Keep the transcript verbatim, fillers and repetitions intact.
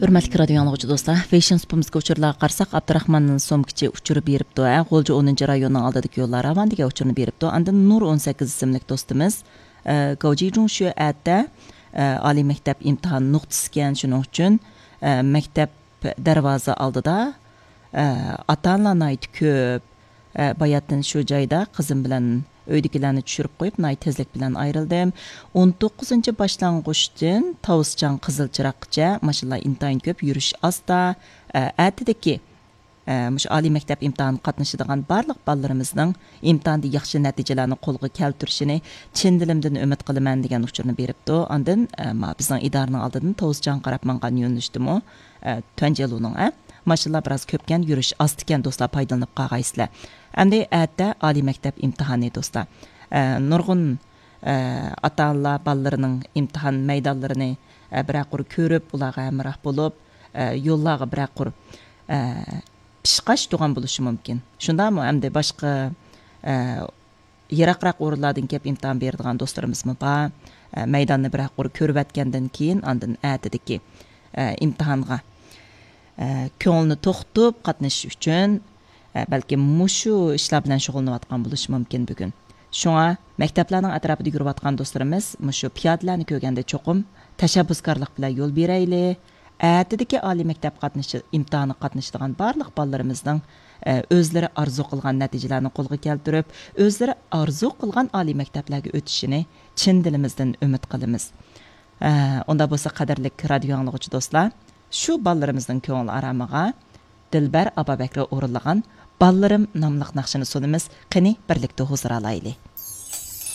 ھۆرمەتلىك رادىيو ئاڭلىغۇچى دوستلار، فېشن سۇپىمىزدىكى ئۇچۇرلارغا قارىساق، ئابدۇراخمان سومكىچى ئۇچۇر بېرىپتۇ، ھە، غۇلجا ئونىنچى رايوننىڭ ئالدىدىكى يوللار راۋان دېگەن ئۇچۇرنى بېرىپتۇ. ئاندىن نۇر ئون سەككىز ئىسىملىك دوستىمىز، ئە، گاۋجىجۇڭشۈ ئەتە، ئە، ئالىي مەكتەپ ئىمتىھان نۇقتىسىكەن، شۇنىڭ ئۈچۈن، ئە، مەكتەپ دەرۋازا ئالدىدا، ئە، ئاتا-ئانىلار ناھايىتى كۆپ. ئە، باياتىن شۇ جايدا قىزىم بىلەن ئۆيدىكىلەرنى چۈشۈرۈپ قويۇپ، ناھايىتى تېزلىك بىلەن ئايرىلدىم. ئون توققۇزىنچى باشلانغۇچتىن تاۋۇسچاڭ قىزىل چىراغقىچە ماشىنىلار ئىنتايىن كۆپ، يۈرۈش ئاستا. ئە، ئەتىدىكى، ئە، مۇشۇ ئالىي مەكتەپ ئىمتىھانىغا قاتنىشىدىغان بارلىق بالىلىرىمىزنىڭ ئىمتىھاندا ياخشى نەتىجىلەرنى قولغا كەلتۈرۈشىنى چىن دىلىمدىن ئۈمىد قىلىمەن، دېگەن ئۇچۇرنى بېرىپتۇ. ئاندىن، ئە، ما بىزنىڭ ئىدارىنىڭ ئالدىدىن تاۋۇسچاڭغا قاراپ ماڭغان يۆنىلىشتىمۇ، ئە، تۈەنجيەلۇنىڭ، ئە، ماشىنىلار بىراز كۆپكەن، يۈرۈش ئاستىكەن، دوستلار، پايدىلىنىپ قالغايسىلەر. ئەمدى ئەتە ئالىي مەكتەپ ئىمتىھانى، دوستلار. ئە، نۇرغۇن، ئە، ئاتا-ئانىلار بالىلىرىنىڭ ئىمتىھان مەيدانلىرىنى، ئە، بىرەر قۇر كۆرۈپ، ئۇلارغا ھەمراھ بولۇپ، ئە، يوللارغا بىرەر قۇر، ئە، پىشقاش تۇغان بولۇشى مۇمكىن. شۇنداقمۇ؟ ئەمدى باشقا، ئە، يىراقراق ئورۇنلاردىن كېلىپ ئىمتىھان بېرىدىغان دوستلىرىمىزمۇ بار. ئە، مەيداننى بىرەر قۇر كۆرۈۋەتكەندىن كېيىن، ئاندىن ئەتىدىكى، ئە، ئىمتىھانغا، ئە، كۆڭلىنى توختىتىپ قاتنىشىش ئۈچۈن، ئە، بەلكىم مۇشۇ ئىشلار بىلەن شۇغۇللىنىۋاتقان بولۇشى مۇمكىن بۈگۈن. شۇڭا مەكتەپلەرنىڭ ئەتراپىدا يۈرۈۋاتقان دوستلىرىمىز مۇشۇ پىيادىلەرنى كۆرگەندە چوقۇم تەشەببۇسكارلىق بىلەن يول بېرەيلى. ئەتىدىكى ئالىي مەكتەپ قاتنىشى-، ئىمتىھانىغا قاتنىشىدىغان بارلىق بالىلىرىمىزنىڭ، ئە، ئۆزلىرى ئارزۇ قىلغان نەتىجىلەرنى قولغا كەلتۈرۈپ، ئۆزلىرى ئارزۇ قىلغان ئالىي مەكتەپلەرگە ئۆتۈشىنى چىن دىلىمىزدىن ئۈمىد قىلىمىز. ئە، ئۇنداق بولسا، قەدىرلىك رادىيو ئاڭلىغۇچى دوستلار، شۇ بالىلىرىمىزنىڭ كۆڭۈل ئارامىغا دىلبەر ئابابەكرى ئورۇنلىغان بالىلىرىم ناملىق ناخشىنى سۇنىمىز. قېنى، بىرلىكتە ھۇزۇر ئالايلى.